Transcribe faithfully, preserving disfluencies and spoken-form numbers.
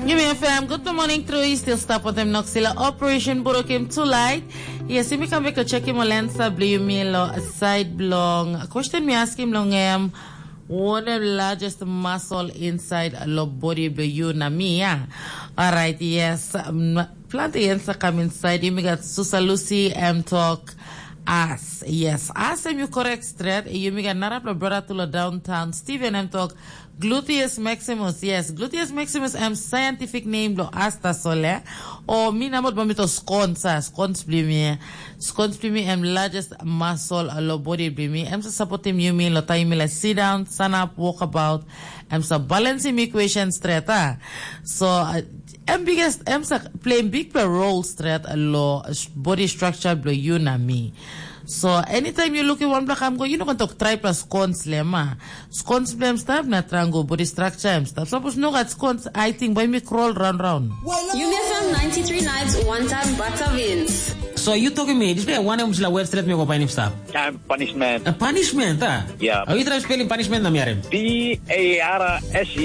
Yumi F M, good morning, true. You still stap with them Noxila Operation Burokim tonight. Yes, yumi come back to check him on Lensa Blumi lo side blong. Question me ask him long him. What the largest muscle inside lo body blo you na me, yeah? All right, yes. Um, plenty answer come inside. Yumi got Susa Lucy M talk. As yes, as em you correct straight. Yumi got Narapla brother to lo downtown. Steven M talk. Gluteus maximus, yes. Gluteus maximus em scientific name lo asta sole. O mi namot ba mi to scones, ah, scones bli mi. Scones bli mi em largest muscle lo body bli mi. Em sa supportim yumi lo time mi la sit down, stand up, walk about. Em sa balancing equation straight, ah. So uh, em biggest em sa playing big role straight lo body structure blo you na me. So anytime you look at one black, I'm go, you know, going to try plus scones lema. Scones blem stap na triangle body structure em stap. Suppose no got scones, I think by me crawl round round. Yumi F M ninety-three nights, one time butter wins. So you talking me, this way one em sila web straight me go painim stap. Time punishment. A punishment, ah? Yeah. Are you trying spelling punishment na miarem? P A R S E